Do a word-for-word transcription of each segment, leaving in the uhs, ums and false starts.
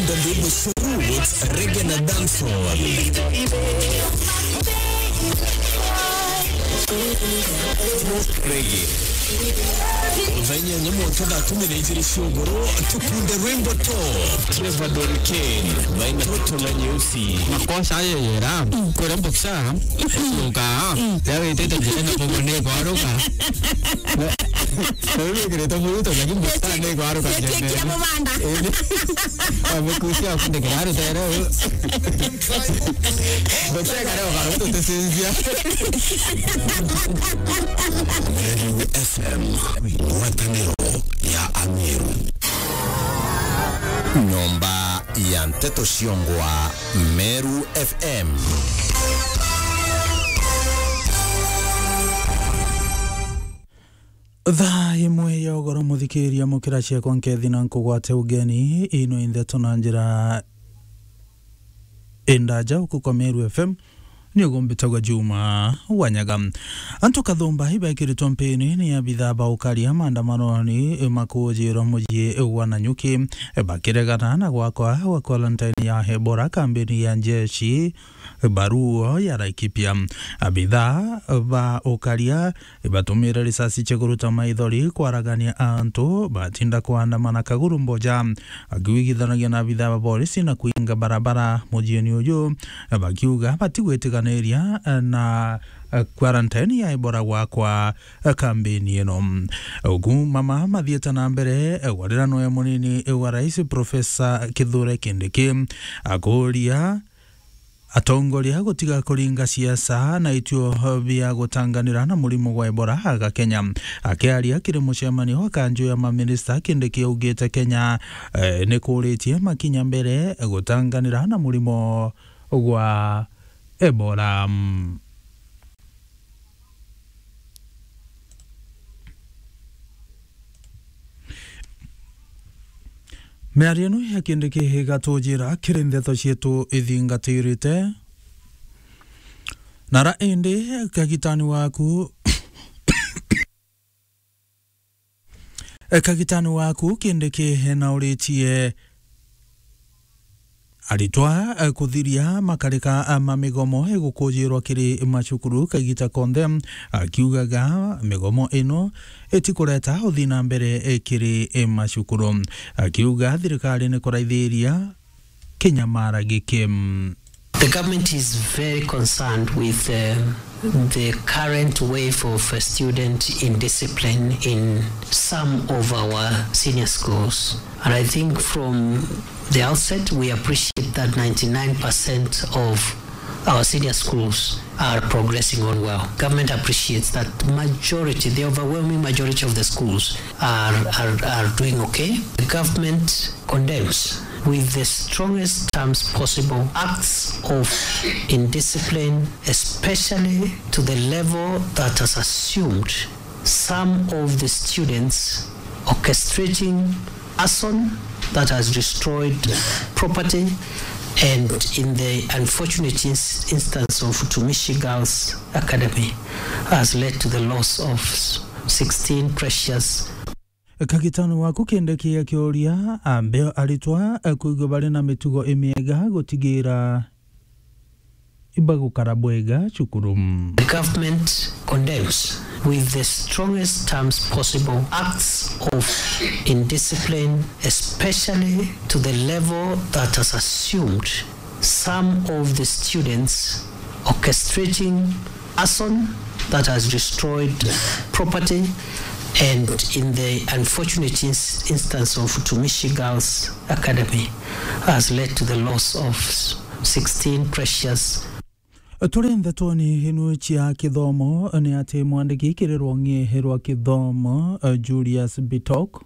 Reggae na dancehall. Reggae. Thaa inyanya mwanka thaa kumi na ijiri cia ugoro, tukunde rwimbo to Trevor Doriken, Maina Toto na Nyeusi. Makosa ayo yera, kwera mboksa, yoka, ya wetete njira na bobo ne kwaruka. Riu wikirite muruto, lakini mboksa ne kwaruka. Yetekia njembe. Mubanda. Indi, amekusia kundekera rutere. Mboksa kare ukaruto tesinzia. Meru F M, ngwataniro ya Ameru. Nyomba ya nteto ciongwa Meru F M. Thaa imwe ya ugoro, muthikiria, mukira ciakwa nkethi na nkugwate ugeni, ino intheto na njira indaja uku kwa Meru F M. Ni ugumbitagwa Juma Wanyaga. Antu kathumba ibekiritwe mpini ni abithaa ba ukaria maandamanoni makujirwa mucii wa Nanyuki, bakiregana na gwakwa gwa quarantine ya Ebola kambini ya njeshi Baruo ya Laikipia. Abithaa ba ukaria ibatumire risasi cia kuruta maithori kwaragania antu batinda kwandamana Kaguru Mboja. Akiwigithanagia na abithaa ba borisi na kuinga barabara mujieni uju, bakiuga batigwitikaniria na quarantine ya Ebola gwakwa kambini ino. Uku mama mathiite na mbere, gwarira noe munini wa rais Profesa Kithure Kindiki akuria atongoria gutiga kuringa siasa na ituo bia gutanganira na murimo gwa Ebola aga Kenya. Akiaria kiri mucemanio wa kanju ya maminista, Kindiki augite Kenya, eh, ni kuritie makinya mbere gutanganira na murimo gwa Ebola. Miario ino ya Kindiki igatujira kiri ndeto cietu ithingatirite. Nara indi kagitani waku, kagitani waku Kindiki nauritie aritwa, eh, kuthiria makarika, eh, ma migomo igukujirwa kiri macukuru kagita konthe, akiugaga migomo ino itikureta uthii na mbere, eh, kiri, eh, macukuru. Akiuga thirikari ni kuraithiria kinyamara giki. The government is very concerned with, uh, the current wave of, uh, student indiscipline in some of our senior schools. And I think from the outset, we appreciate that ninety-nine percent of our senior schools are progressing on well. Government appreciates that majority, the overwhelming majority of the schools are, are, are doing okay. The government condemns with the strongest terms possible acts of indiscipline, especially to the level that has assumed some of the students orchestrating arson that has destroyed property, and in the unfortunate ins-, instance of Utumishi Girls Academy, has led to the loss of sixteen precious. Kagitano waku Kindiki akiuria ambe aritwa, eh, kuigua bari na mitugo imiega gutigira ibagukara bwega cukuru. The government condemns with the strongest terms possible acts of indiscipline, especially to the level that has assumed some of the students orchestrating arson that has destroyed property, and in the unfortunate ins-, instance of Utumishi Girls Academy, has led to the loss of sixteen precious. Turi ntetoni inu cia kithomo, ni ati mwandiki kiri rwongi rwa kithomo, eh, Julius Bitok,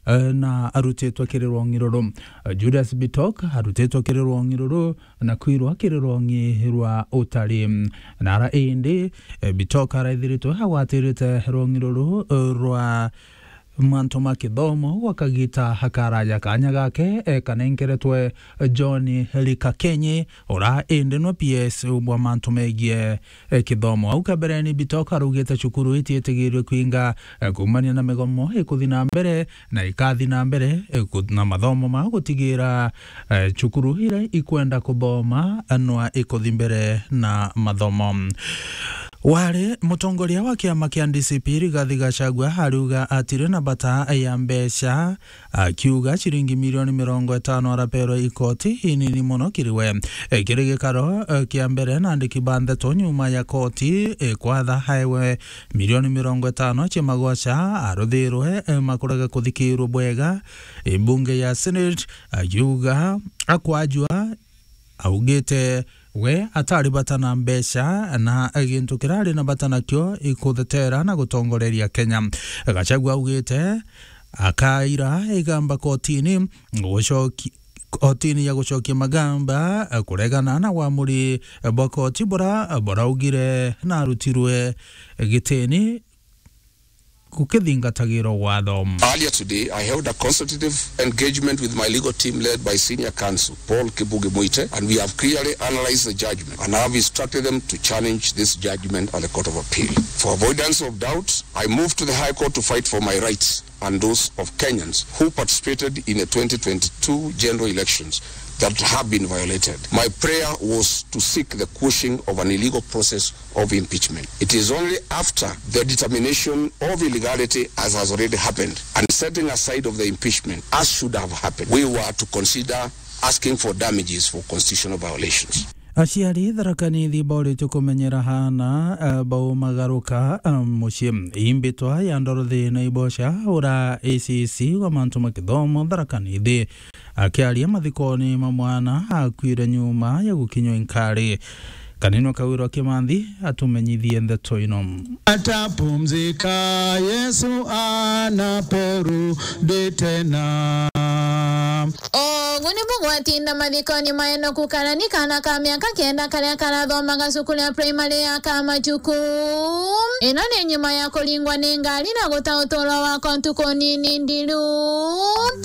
eh, na arutitwe kiri rwongi ruru. Eh, Julius Bitok arutitwe kiri rwongi ruru na kwirwa kiri rwongi rwa utari. Nara indi, eh, Bitok araithiritwe agwatirite rwongi ruru, eh, rwa mantu ma kithomo gwa kagita karaja kanya gake, e, kanenkeretwe John Rikakenyi, ura indi nwe P S bwa mantu megie, e, kithomo. Au kabereni Bitoka araugite cukuru itiitigirwe kwinga, e, kuumania na migomo ikuthi na mbere, na ikathi na mbere, e, ku-, na mathomo ma gutigira, e, cukuru iria ikwenda kuthoma, e, nwa ikuthi mbere na mathomo. Wari mutongoria wa kiama kia D C P Rigathi Gachagua ariuga atiri na bata ya mbeca, akiuga ciringi milioni mirongo itano araperwa ikoti inini muno kiri we. E, kiri gikaro, e, kia mbere na andiki ba ndeto nyuma ya koti, e, kwatha aewe milioni mirongo itano cia magoca aruthirwe, e, makurega kuthikirwa bwega, e, mbunge ya Senate, akiuga akwajua augite we atari bata na mbeca na gintu kiria ari na bata nakio ikuthetera na gutongoreria Kenya. Gachagua augite akaira igamba kotini gucoki-, kotini ya gucokia magamba kuregana na wamuri bwa koti bura buraugire na arutirwe gitini gukithingatagirwa watho. Earlier today, I held a consultative engagement with my legal team led by senior counsel Paul Kibugi Muite, and we have clearly analyzed the judgment and have instructed them to challenge this judgment at the Court of Appeal. For avoidance of doubt, I moved to the High Court to fight for my rights and those of Kenyans who participated in the twenty twenty-two general elections that have been violated. My prayer was to seek the quashing of an illegal process of impeachment. It is only after the determination of illegality, as has already happened, and setting aside of the impeachment, as should have happened, we were to consider asking for damages for constitutional violations. Aciari Tharaka Nithi boritwe kumenyera aana, eh, baumagaruka, eh, mucii. Imbitwa ya Dorothy Naibosha, ura A C C wa mantu ma kithomo Tharaka Nithi, akiaria mathikoni ma mwana akuire nyuma ya gukinywa inkari. Kanini Kawirwa Kimanthi atumenyithie ndeto ino. Atapumzika, Yesu anaporudi tena. Ugu nibu gwatinda mathikoni ma Enoku Karani, kaana ka miaka kenda karia karathomaga cukuru ya primary ya Kamachuku. Ino ni nyuma ya kuringwa ni ngari na guta uturo wakwa ntuku nini nthiru.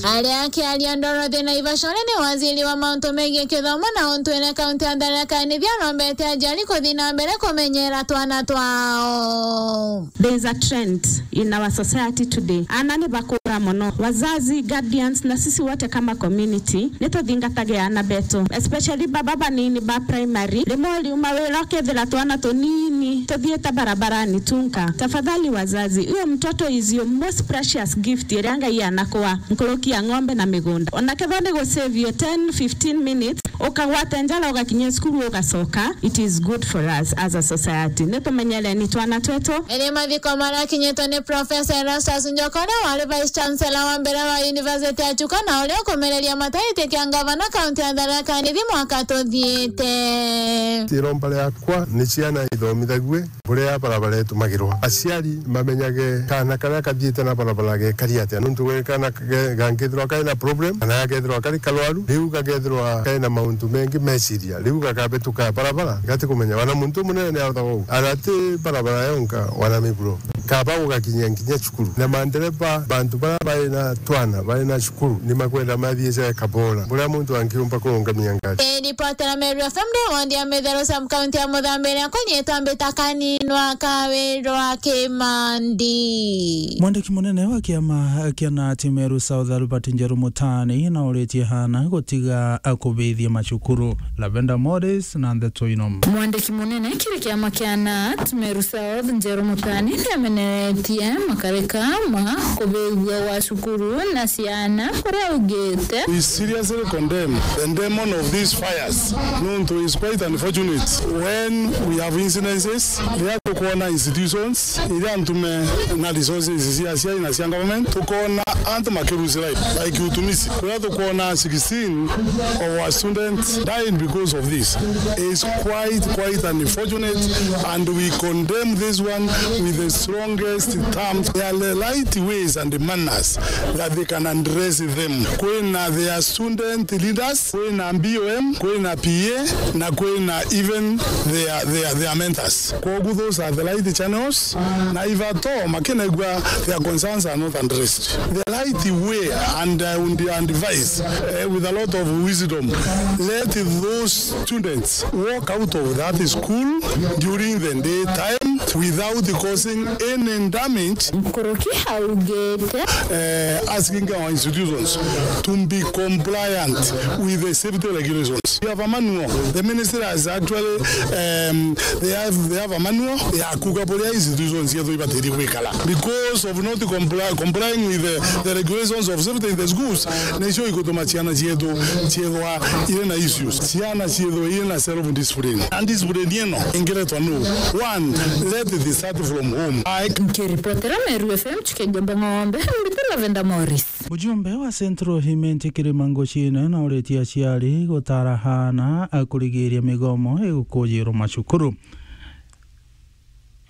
Aria akiaria Dorothy Naivashore ni waziri wa mauntu megie kithomo na untwire kaunti ya Tharaka Nithi arombete aciari kuthi na mbere kumenyera twana twao. There is a trend in our society today. Aana ni bakura mono. Wazazi, guardians, na sisi wote kama community, ni tuthingatage aana betu, especially baba banini ba primary. Rimwe uriuma wira ukethira twana tunini tuthiite barabarani tunka. Tafadhali wazazi, huyo mtoto is your most precious gift iria Ngai anakua, nkuruki ya ng'ombe na migunda. Ona kethira ni gu save you ten, fifteen minutes, ukagwate njara ugakinya cukuru ugacoka, it is good for us as a society. Ni tumenyereni twana twetu. Iri mathiko marakinyitwe ni Professor Erastus Njoka, uria wari Vice Chancellor wa mbere wa University ya Chuka na uria ukumereria mataiti kia ngavana kaunti ya Tharaka Nithi mwaka tuthiite. Iromba riakwa ni ciana ithomithagwe buria barabara itumagirwa. Aciari mamenyage kaana karia kathiite na barabara gekari atia, nontu gwe kaana ge-, gangithirwa kari na problem, kana gakethirwa kari karwaru, riu gakethirwa kari na mauntu mengi meciria, riu gakabituka barabara, gatikumenya. Wana muntu munene ni arutaga uu. Ana ti barabara yonka, wana miburo. Kaba gugakinyia nginya cukuru. Na mandereba, bantu baria bari na twana, bari na cukuru, ni makwenda mathiice kabora. Buria muntu angiumba kurungamia ngari. Ripotera Meru F M ndi ward ya Mitheru sub county ya Muthambiria, kunyitwa mbita Kaninwa Kawirwa Kimandi. Mwandiki munene wa kiama kia nat Meru South Albert Njeru Mutani nauritie aana gutiga kubithia macukuru. Lavender Morris na ndeto ino. Mwandiki munene kiri kiama kia nat Meru South Njeru Mutani niameneretie makarika ma kubithua gwa cukuru na ciana, kuria augite, We seriously condemn the demon of these fires. Nontu is quite unfortunate when we have incidences riria tukwona institutions iria ntume na resources cia aciari na cia government, tukona antu makirusi life like utumishi, kuria tukwona sixteen of our students died because of this. Is quite, quite unfortunate, and we condemn this one with a strong strongest terms. There are the right ways and the manners that they can address them. Kwina their student leaders, kwina B O M, kwina P A, na kwina even their, their, their mentors. Kwogu those are the right channels, na if at all makinegua their concerns are not addressed, the right way, and I would advise, eh, with a lot of wisdom, let those students walk out of that school during the day time without causing any damage. Nkuruki augite, eh, asking our institutions to be compliant with the safety regulations. We have a manual. The ministry has actually, um, they have, they have a manual ya kuga buria institutions cietu ibatairi gwikara. Because of not comply, complying with the, the regulations of safety in the schools, nicio igutuma ciana cietu ciethwa iri na issues. Ciana ciethwa iri na self discipline. And discipline ino ingiretwa nu? One, let it start from home. I Nkiripotera Meru F M, Chikejembe Ng'ombe, mbitira Lavenda Morris. Mujumbe wa Central Imenti Kirima Nguchine na uritie aciari gutara aana a kurigiria migomo igukujirwa macukuru.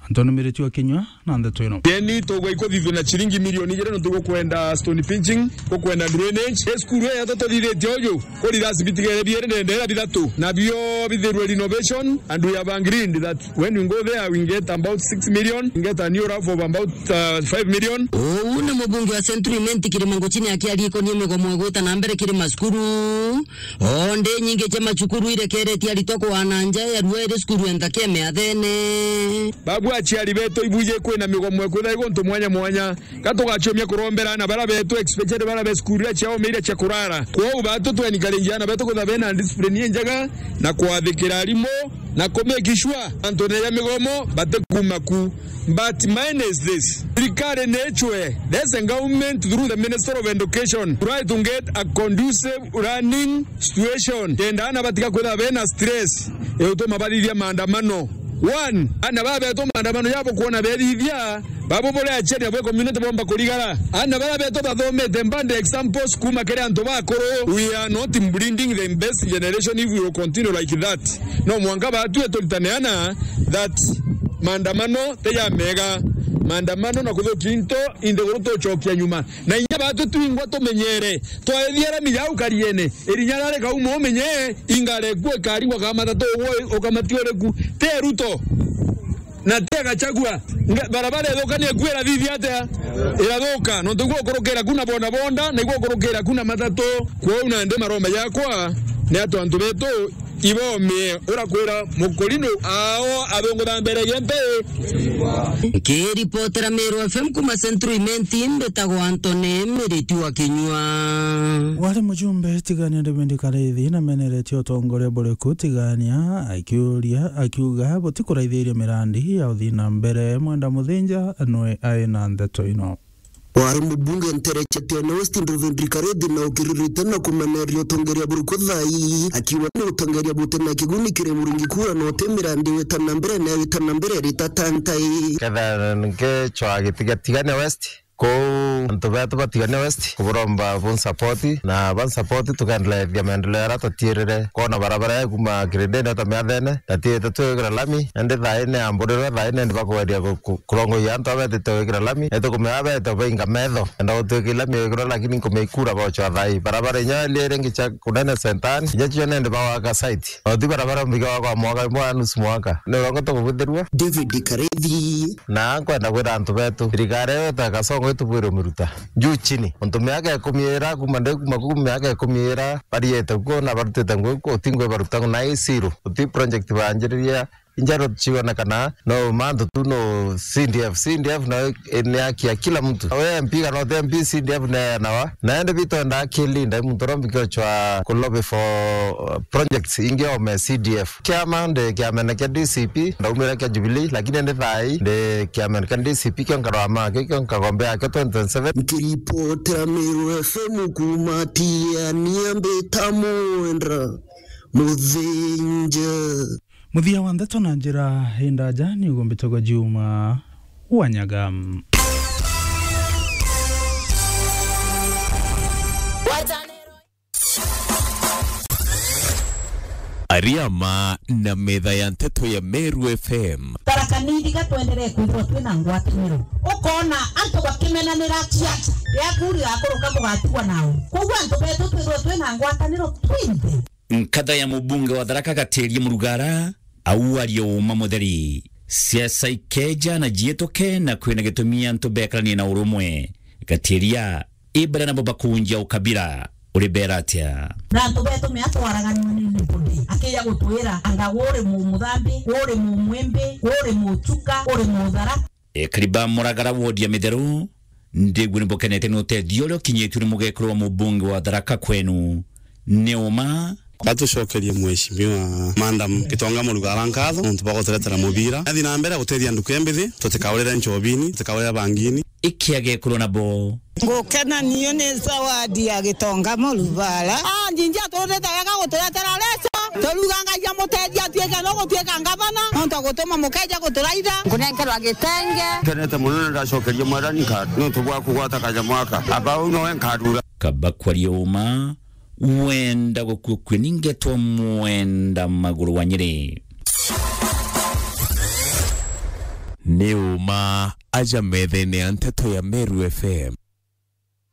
Anthony Miriti wa Kinyua na ndeto ino. Deni tugwa ikuthithua na ciringi milioni igiri nontu gukwenda stone pinching, gukwenda drainage. E cukuru ii yatatu tuthithitie uju, kuri irasi bitigere biiri ndendera bithatu, na bio bithirwe renovation, and we have agreed that when we go there, we get about six million, we get a new roof of about, uh, five million. Uu ni mubunge wa Central Imenti Kirima Nguchine akiaria ikonie migomo igwita na mbere kiri macukuru. O ndi nyingi cia macukuru irekeretie aritwa kuana nja ya rua iri cukuru enta kia miathene. Babu aciari betu, ibuje kwina migomo ikwitha iguntu mwanya mwanya. Ka tugaciumia kurombera aana bara betu, especially bara be cukuru iria ciaomeire cia kurara. Kwou batu twenikaringia aana betu kwitha bena discipline injega na kwathikira arimu na ku make sure antu neja migomo batikuma ku. But mine is this. Thirikari ni ichwe, there's a government through the Minister of Education, try to get a conducive learning situation. Kenda aana batiga kwitha bena stress, igutuma bathithia maandamano. One, aana baba betu maandamano jabo kwona bethithia, babo bore aciari nabo community bomba kurigara. Aana bara betu bathomete mbande examples kuma kiri antu bakuru. We are not breeding the best generation if we will continue like that. No mwanka batue turitane aana that maandamano ti ja mega. Maandamano na kuthukia into, inthiguru tucokia nyuma. Na inya batu twingwa tumenyere, twaethia rami jau kariene, irinya rari kauma umenye, ingare kuo ikaringwa ka matatu ugwe ukamati uriku. Ti Ruto. Na ti Gachagua. Nga-, barabara ithuka ni ikuo irathithia atia? Irathuka. Nontu igwo ukurukira ku na bodaboda, na igwo ukurukira ku na matatu. Kwou nandi maromba jakwa ni atu antu betu ibomie urakwira mukurino ao athungutha mbere giempe. Nkiripotera Meru F M kuma Central Imenti, mbitagwa Anthony Miriti wa Kinyua. Wari mujumbe Tigania David Kareithi na meneretie utongoria buriku Tigania, akiuria, akiuga butikuraithiria mirandi ya uthii na mbere. Mwenda Muthinja nwe ai na ndeto ino. Wari mubunge ntere cia Tigania West David Kareithi na ukiririte na kumeneria utongeria buriku thai, akiuga ni utongeria buti na kiguni kiri muringi kura na uti mirandi wita na mbere na wita na mbere rita tantai. Ketha ngichwa gitiga Tigania West, kou antu betu ba Tigania West kuburomba bunsupport na bansupport tukendelethia maendeleo aria tatiirire. Kona barabara ya kuma Kirindini ta Miathene, tatiirite twikira lami, indi thai ni amburirwe, thai ni ndi bakugeria ku-, ku-, kurongoia antu abetite gwikira lami, ni tukumea bete bainga metho, enda gutwika lami iguru, lakini nkumea ikura bochwa thai. Barabara inya iria iringi cia kunene Sentani, inya cio ni ndi bagwaka site. Oti barabara mbige wa kwa mwaka, mwa nusu mwaka. Ni urongo tukubuthirua. David Kareithi. Na nkwenda kwira antu betu, thirikari iyo ta Kasongo itubwire umiruta juu chini. Untu miaka ikumi ira, kuma ndi kuma ku miaka ikumi ira, bariete kuo na barutite ngugi kuo, uti ngugi baruta na isiro, uti project banjiriria, injaro chionekana, no mantu tu no C D F. C D F nayo ni haki ya kila mtu. We M P kana uti M P, C D F ni ya nawa. Na ende bitwenda akili, ndai muntu rombi kiochwa ku lobby for, uh, projects ingi ome C D F. Kiama ndi kiamene kia D C P, ndaumire kia Jubilee, lakini ndi thai ndi kiamene kia D C P, kio nkarwama, kio, kio nkagombe yake twenty twenty-seven. Nkiripotera Meru F M kuma Tigania, mbita Mwenda Muthinja. Muthia wa ndeto na njira indaja ni ugumbitagwa Juma Wanyaga. Ariama na metha ya nteto ya Meru F M. Tharaka Nithi ga twenderee kwithirwa twina ngwataniro. Ukoona antu bakimenanira ciaca, riaku rigakuruka bugatua nao. Kwou antu betu twithirwe twina ngwataniro twinthe. Nkatha ya mubunge wa Tharaka Gatiria Murugara, au aria uuma mutheri. Siasa ikeeja na ciituke na kwina gitumi antu bekaranie na urumwe. Gatiria, ibara nabo bakunjia ukabira, uri beera atia? Na antu betu mea twaraganua ni nibudi. Akija gutwira, anga uri mumuthambi, uri mumwimbi, uri muchuka, uri muthara. Ekari ba Muragara wodi ya Mitheru, ndigua ni bukenete ni utethio uria ukinyitue ni mugekuru wa mubunge wa Tharaka kwenu. Ni uma? Atucokerie Mheshimiwa Madam Gitonga Murugara nkatho nontu bwa guturetera mubira. Athi na mbere gutethia nduku embithi, tutikaurire nchobini, tutikaurire bangini. Ikiage kurwo nabo. Ngukena niyo ni zawadi ya Gitonga Murugara. Ah, njinji aturutite wega guturetera leso. Turuga Ngai amutethia atuike no gutuika ngavana, nontu agutuma mukeja guturaitha. Nkunenkerwa gitenge. Nkenete mono na ndacokeria Mwathani nkatho nontu bwa kugwata kanyamu aka. Aba uu nowe nkarura. Kaba kwaria uma, wenda gukua kue ningetwa mwenda maguru wa Nyeri. Ni uma aja methene ya nteto ya Meru F M.